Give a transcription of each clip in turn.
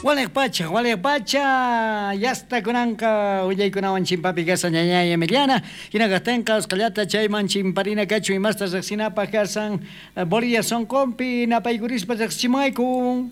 Waliq pacha, yasta kunanqa willaykunawan chimpapi kasan ñañay Emiliana, hina kaqtinqa usqhayllata chayman chimparina kachu imasta riqsinapaq kasan Bolivia sunqunpi napaykurispa riqsichimuwayku.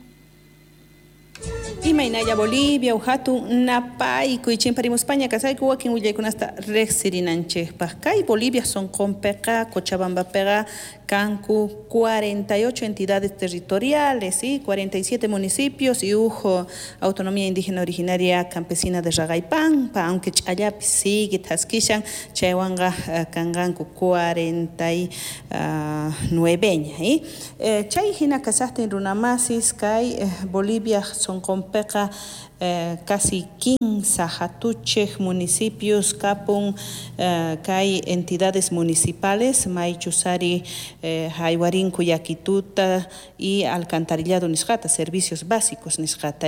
Imaynalla Bolivia hatun napaykuy chimparimuspaña kasayku wakin willaykunasta riqsirinanchikpaq. Kay Bolivia sunqunpiqa Cochabambapiqa kanku 48 entidades territoriales y 47 municipios y huk autonomía indígena originaria campesina de Raqaypampa, aunque ch'allapis sigue thaskishan chaywanqa kanqanku 49ña. Chay hina kasaqtin runamasis kay Bolivia sunqunpiqa casi 15 hatuchej municipios kapun kay entidades municipales maychusari haywarinku yakituta y alcantarillado nisqata, servicios básicos nisqata.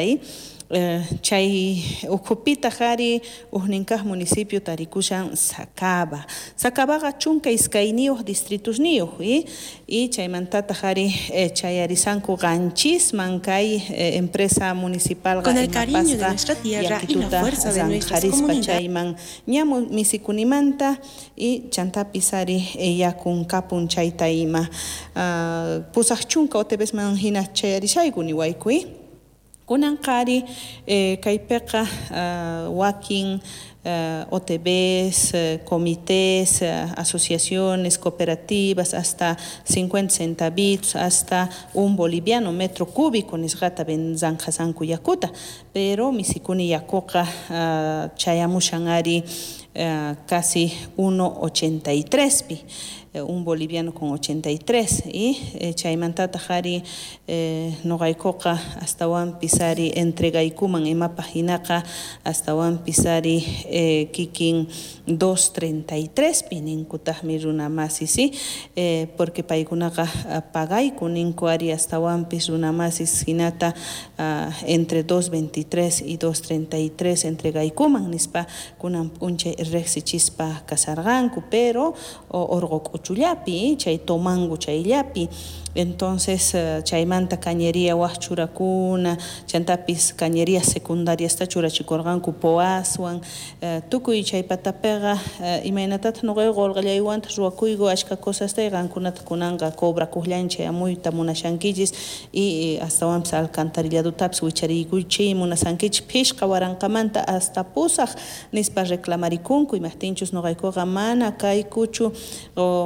Chay ukhupitaq ari ujninkaq municipio tarikushan Sacaba. Sacabaqa 12 distritosniyuq y chaymantataq ari chayarisanku qanchisman kay empresa municipal Con el cariño de nuestra tierra y la fuerza de nuestras comunidades. Chayman ña misikunimanta y chantapis ari yakun kapun chayta ima 80 OTBsman hina chayarishayku niwayku. Kunan qari kaypiqa wakin OTBs, comités, asociaciones, cooperativas, hasta 50 centavitos, hasta un boliviano metro cúbico nisqata zanjasanku yakuta, pero misikuni yakuqa chayamushan ari casi 1.83 pi, un boliviano con 83 y chaymantataq ari noqaykuqa astawanpis ari entregaykuman imapaq hinaqa astawanpis ari kikin 2.33 pi ninkutaqmi runamasis, porque paykunaqa pagayku ninku ari astawanpis runamasis hinata entre 2.23 y 2.33 entregaykuman nispa kunan p'unchay riqsichispa kasarqanku, pero orqo k'uchullapi chay tomangu chayllapi. Entonces chaymanta cañería waj churakuna, chantapis cañería secundariasta churachikurqanku poaswan, tukuy chay patapiqa imaynatataq nuqayku qulqillaywantaq ruwakuyku achka cosasta y qankunata kunanqa cobrakuqllanchik amuyta munashankichis y astawanpis alcantarilladotapis wichariykuchik munasankichik phishqa waranqamanta hasta 8 nispa reclamarikunku imaqtinchus nuqaykuqa mana kaykuchu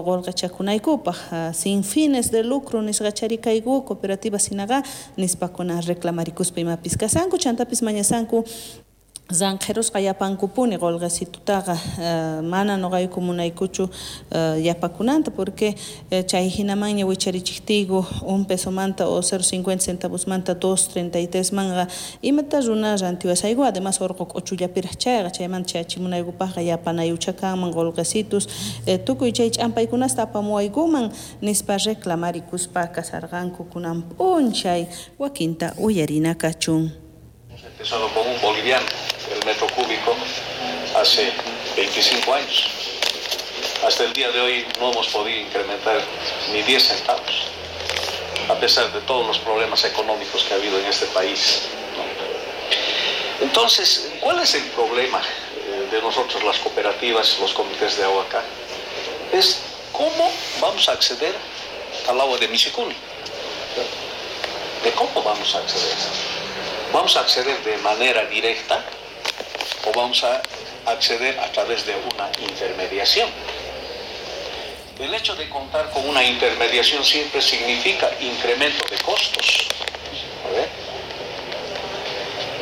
qulqichakunaykupaq sin fines de lucro nisqachari kayku cooperativas hinaqa nispakuna reclamarikuspa imapis kasanku chantapis mañasanku zanqerusqa yapankupuni qulqisitutaqa mana nuqayku munaykuchu yapakunanta porque chay hinamanña wicharichiqtiyku un pesomanta o 0.50 centavosmanta 2.33 manqa imata runa rantiwasayku además orqo k'uchullapiraq chayqa chaymanta chayachimunaykupaqqa yapanayucha kanman qulqisitus tukuy chay ch'ampaykunasta apamuwaykuman nispa reclamarikuspa kasarqanku kunan p'unchay wakinta uyarina kachun. Empezado con un boliviano el metro cúbico hace 25 años. Hasta el día de hoy no hemos podido incrementar ni 10 centavos, a pesar de todos los problemas económicos que ha habido en este país, ¿no? Entonces, ¿cuál es el problema de nosotros las cooperativas, los comités de agua acá? Es cómo vamos a acceder al agua de Misicuni. ¿De cómo vamos a acceder? ¿Vamos a acceder de manera directa o vamos a acceder a través de una intermediación? El hecho de contar con una intermediación siempre significa incremento de costos. A ver.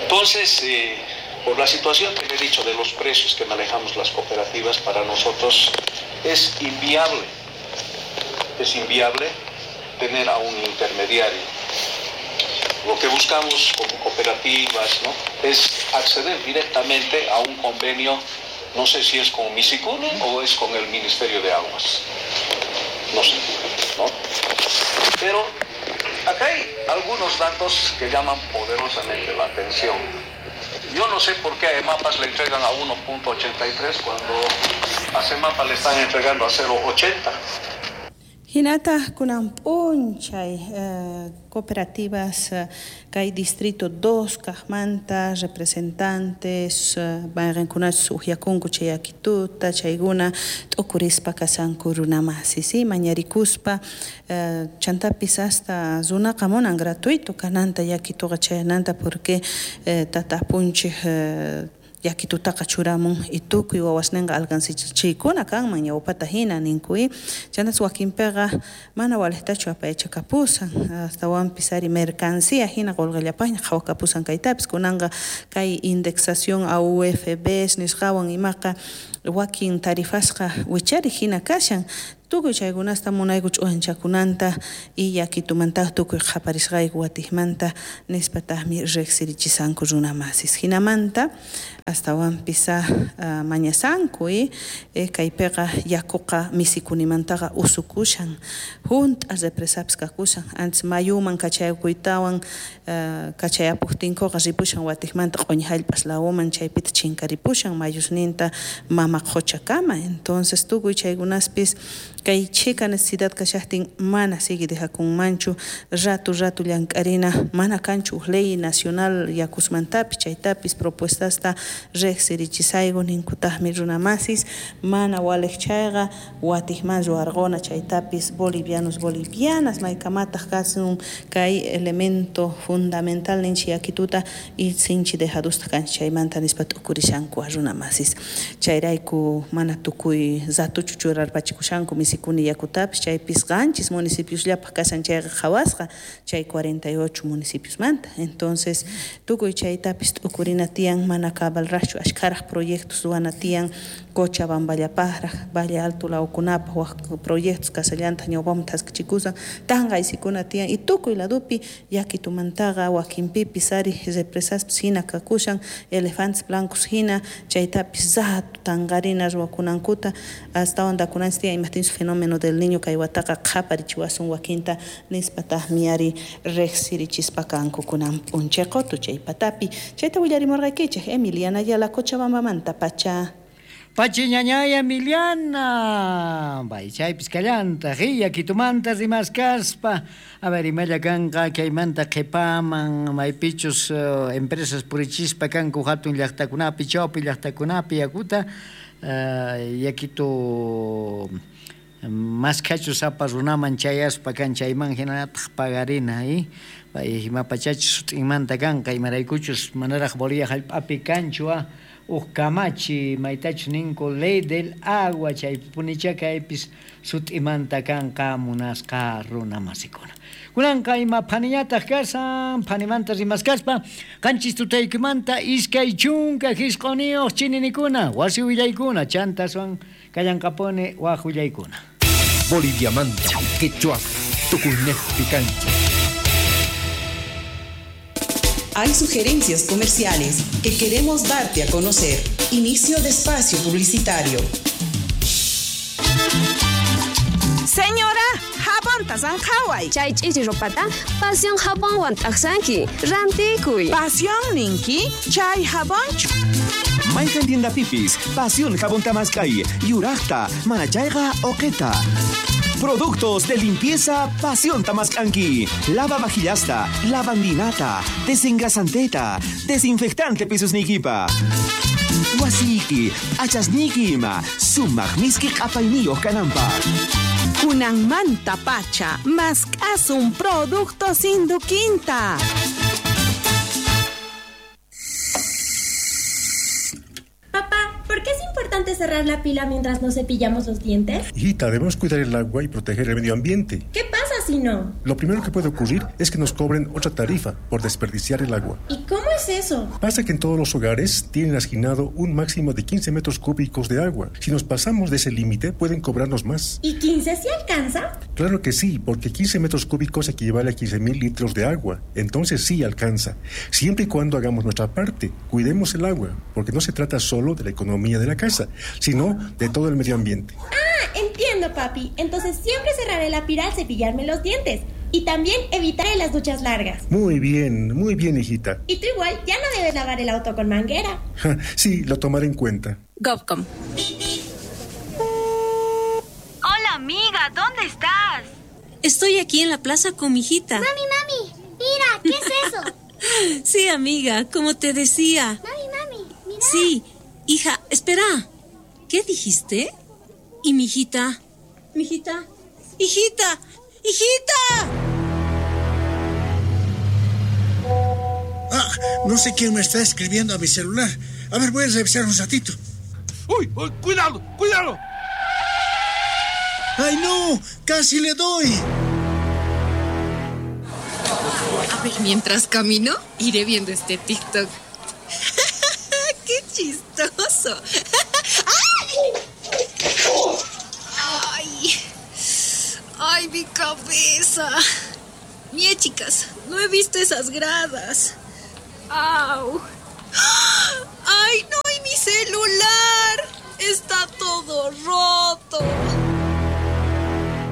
Entonces, por la situación que le he dicho de los precios que manejamos las cooperativas, para nosotros es inviable. Es inviable tener a un intermediario. Lo que buscamos como cooperativas, ¿no?, es acceder directamente a un convenio, no sé si es con Misicuni o es con el Ministerio de Aguas, no sé, ¿no? Pero acá hay algunos datos que llaman poderosamente la atención. Yo no sé por qué a EMAPAS le entregan a 1.83 cuando a SEMAPA le están entregando a 0.80. Hinataq kunan p'unchay cooperativas kay distrito 2 kaqmanta representantes mayqinkunachus uqyakunku chay yakituta chaykuna t'ukurispa kasanku runamasi, si mañarikuspa chantapis hasta runaqa munan gratuito kananta yakituqa chayananta porque tata apunchik yakitutaqa churamun y tukuy wawasninqa alcancechiykuna kanman ñawpata hina ninkuy chantas wakinpiqa mana walejtachu apayachakapusan astawanpis ari mercancía hina qolqellapaqña qhawakapusan kaytapis kunanqa kay indexación AUFB nisqawan imaqa wakin tarifasqa wichari hina kashan tukuy chaykunasta munayku ch'uwanchakunanta y yakitumantaq tukuy qhaparisqayku watiqmanta nispataqmi riqsirichisanku runamasis hinamanta astawanpis mañasanku kaypiqa yakuqa misikunimantaqa usukushan hunt'a represapis kakushan antes mayuman kachayakuytawan kachayapuqtinkuqa ripushan watiqmanta q'uñi hallp'as lawuman chaypita chinkaripushan mayusninta mama qhuchakama entonces tukuy chaykunaspis kay chhika necesidad kashaqtin mana sigue dejakunmanchu ratu ratu llank'arina mana kanchu uj ley nacional yakusmantapis chaytapis propuestasta riqsirichisayku ninkutaqmi runamasis mana waliq chayqa watiqman ruwarquna chaytapis bolivianos bolivianas maykamataq kasun kay elemento fundamental ninchik yakituta y sinchi dejadusta kanchik chaymanta nispa t'ukurishanku runamasis chayrayku mana tukuy ratuchu churarpachikushanku misikuni yakutapis chaypis qanchis municipiosllapaq kashan chayqa qhawasqa chay 48 municipiosmanta entonces tukuy chaytapis t'ukurina tiyan mana cabalraqchu ashkharaq proyectos ruwana tiyan Cochabamballapaqraq Valle Alto lawkunapaq waq proyectos kasallantaq ñawpaman thaskichikusan tanqaysikuna tiyan y tukuy ladupi yakitumantaqa wakinpipis ari represaspis hina kakushan elefantes blancos hina chaytapis ratu tanqarina ruwakunankuta astawan dakunanchis tiyan imajtinchus fenómeno del niño kay wataqa qhaparichiwasun wakinta nispataqmi ari riqsirichispa kanku kunan p'unchay qutu chay patapi chayta willarimurqaykichik Emiliana Ayala Cochabambamanta pacha. Pachi ñañay Emiliana, bay chaypis kallantaq yakitumanta rimaskaspa a ver imalla kanqa kaymanta qhipaman maypichus empresas purichispa kanku hatun llaqtakunapi chawpi llaqtakunapi yakuta yakitu maskachus sapa runaman chayaspa kan chayman hinallataq pagarina bay imapachachus sut'inmanta kanqa imaraykuchus manaraq Bolivia hallp'api kanchu uj kamachi maytachus ninku ley del agua chaypunicha kaypis sut'imanta kanqa munasqa runamasikuna. Kunanqa ima phaniñataq kasan phanimanta rimaskaspa qanchis tutaykimanta 29 chininikuna wasi willaykuna chantaswan kallanqapuni waq willaykuna. Boliviamanta quechua tukuynejpi kanchik. Hay sugerencias comerciales que queremos darte a conocer. Inicio de espacio publicitario. Señora, jabonta sanjaway. Chay ch'ichi ropata, pasión jabonwan t'aqsanki. Rantikuy. Pasión ninki, chay jabonchu. Mayqan tienda pipis, pasión jabonta maskay, yuraqta, manachayqa oqeta. Productos de limpieza Pasión Tamascanqui. Lava vajillasta, lavandinata, desengrasanteta, desinfectante pisusnikipa. Wasiki, achasniki ima, sumaq miski q'apayniyuq kananpaq. Kunanmanta pacha, mask'asun productos Induquinta. Papá, ¿por qué es importante cerrar la pila mientras nos cepillamos los dientes? Hijita, debemos cuidar el agua y proteger el medio ambiente. ¿Qué pasa si no? Lo primero que puede ocurrir es que nos cobren otra tarifa por desperdiciar el agua. ¿Y cómo es eso? Pasa que en todos los hogares tienen asignado un máximo de 15 metros cúbicos de agua. Si nos pasamos de ese límite, pueden cobrarnos más. ¿Y 15 sí alcanza? Claro que sí, porque 15 metros cúbicos equivale a 15.000 litros de agua. Entonces sí alcanza. Siempre y cuando hagamos nuestra parte, cuidemos el agua, porque no se trata solo de la economía de la casa, sino de todo el medio ambiente. Ah, entiendo, papi. Entonces siempre cerraré la pila al cepillarme los dientes. Y también evitaré las duchas largas. Muy bien, hijita. Y tú igual ya no debes lavar el auto con manguera. Sí, lo tomaré en cuenta. Govcom. Hola, amiga. Amiga, ¿dónde estás? Estoy aquí en la plaza con mi hijita. Mami, mami, mira, ¿qué es eso? Sí, amiga, como te decía. Mami, mami, mira. Sí, hija, espera. ¿Qué dijiste? ¿Y mi hijita? ¿Mi hijita? ¡Hijita! ¡Hijita! Ah, no sé quién me está escribiendo a mi celular. A ver, voy a revisar un ratito. ¡Uy! Uy, ¡Cuidado! ¡Cuidado! ¡Ay, no! ¡Casi le doy! A ver, mientras camino, iré viendo este TikTok. ¡Qué chistoso! ¡Ay! ¡Ay, mi cabeza! Mie, chicas, no he visto esas gradas. ¡Au! ¡Ay, no! ¡Y mi celular! ¡Está todo roto!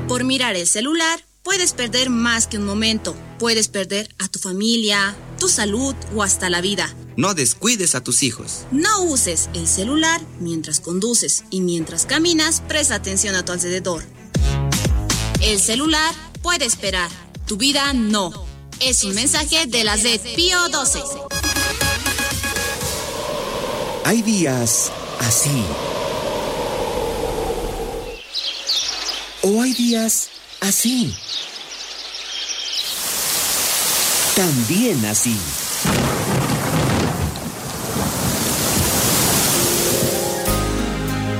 Por mirar el celular, puedes perder más que un momento. Puedes perder a tu familia, tu salud o hasta la vida. No descuides a tus hijos. No uses el celular mientras conduces y mientras caminas, presta atención a tu alrededor. El celular puede esperar, tu vida no. Es un mensaje de la Z Pío 12. Hay días así. O hay días así. También así.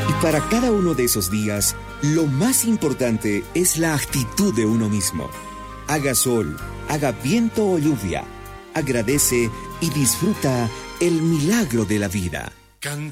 Y para cada uno de esos días, lo más importante es la actitud de uno mismo. Haga sol, haga viento o lluvia. Agradece y disfruta el milagro de la vida. Canta.